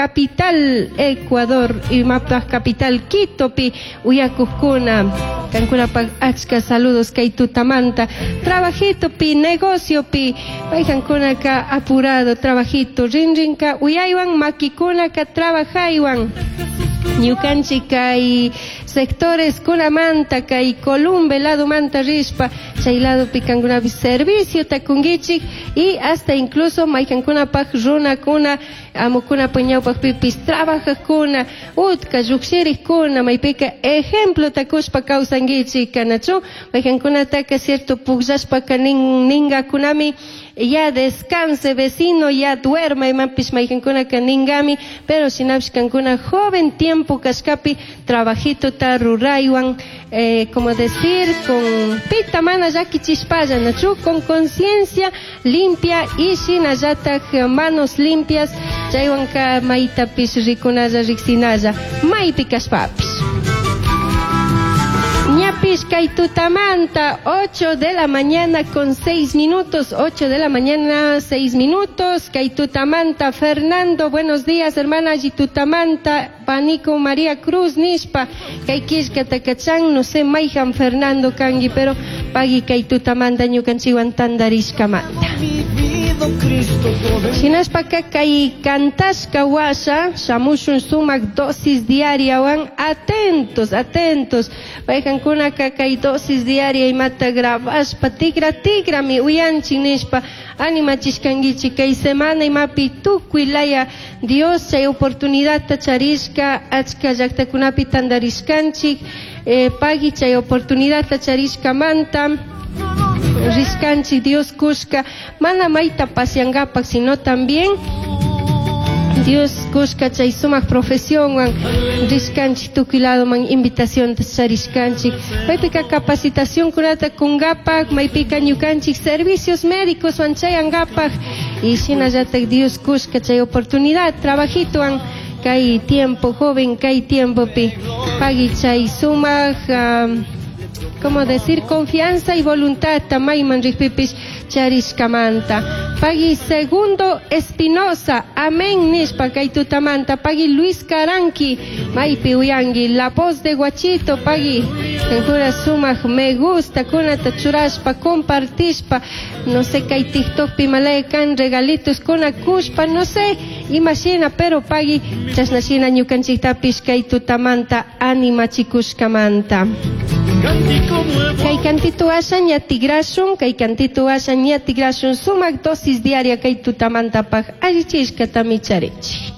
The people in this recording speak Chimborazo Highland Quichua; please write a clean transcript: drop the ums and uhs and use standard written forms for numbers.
capital Ecuador imapaj capital Quitopi uyakujkuna. Kankunapaj achka saludos kay tutamanta. Trabajitopi, negociopi, paykankunaka apurado trabajito, rinrinka uyaywan makikunaka trabajaywan. Ñukanchik kay sectores kunamanta kay Columbe lado manta rishpa chay ladopi kankunapi servicio takunkichik y hasta incluso maykankunapaj runakuna amukunapa ñawpaqpipis trabajajkuna utka lluqshiriqkuna maypika ejemplo takushpa kawsankichik kanachu maykankunataka cierto pukllashpaka nin ningakunami ya descanse vecino ya duerma imapish maykankunaka ningami pero shinapish kankuna joven tiempo kashkapi trabajitota ruraywan como decir con pita mana llakichishpalla nachu con conciencia limpia y shinallatak manos limpias chaywanka maytapish rikunalla riksinalla maypi kashpapish. Ñapish kay tutamanta 8 de la mañana con 6 minutos, 8 de la mañana 6 minutos, kay tutamanta Fernando, buenos días hermana Tutamanta, Panico María Cruz nishpa, kay killka takachan, no sé mayjan Fernando kanki, pero pagui kay tutamanta ñukanchikwan tantarishkamanta. Shinashpaka kay kantashka washa shamushun sumak dosis diariawan atentos, atentos. Paykankunaka kay dosis diaria imata grabashpa tigra tigrami uyanchik nishpa animachishkankichik kay semana imapi tukuy laya Dios chay oportunidadta charishka achka llaktakunapi tantarishkanchik pagui chay oportunidadta charishkamanta rishkanchik Dios kushka mana mayta paseangapak sino también Dios kushka chay sumak profesionwan rishkanchik tukuy ladoman invitación charishkanchik maypika capacitación kunata kungapak maypika ñukanchik servicios médicos wan chayangapak y shinallatak Dios kushka chay oportunidad trabajitowan kay tiempo joven kay tiempopi pagui chay sumak como decir confianza y voluntad mayman rikpipish charishkamanta pagui Segundo Espinosa amén nishpa kay tutamanta pagui Luis Caranqui maypi uyanki la voz de Guachito pagui kankuna sumak me gusta kunata churashpa compartishpa no sé kay TikTokpi malaya kan regalitos kuna kushpa no sé imashina pero pagui chashnashina ñukanchiktapish kay tutamanta animachikushkamanta. Kay kantito asha ña tigrashun, kay kantito asha ña tigrashun sumak dosis diaria kay tutamantapaj allichishkatami charinchik.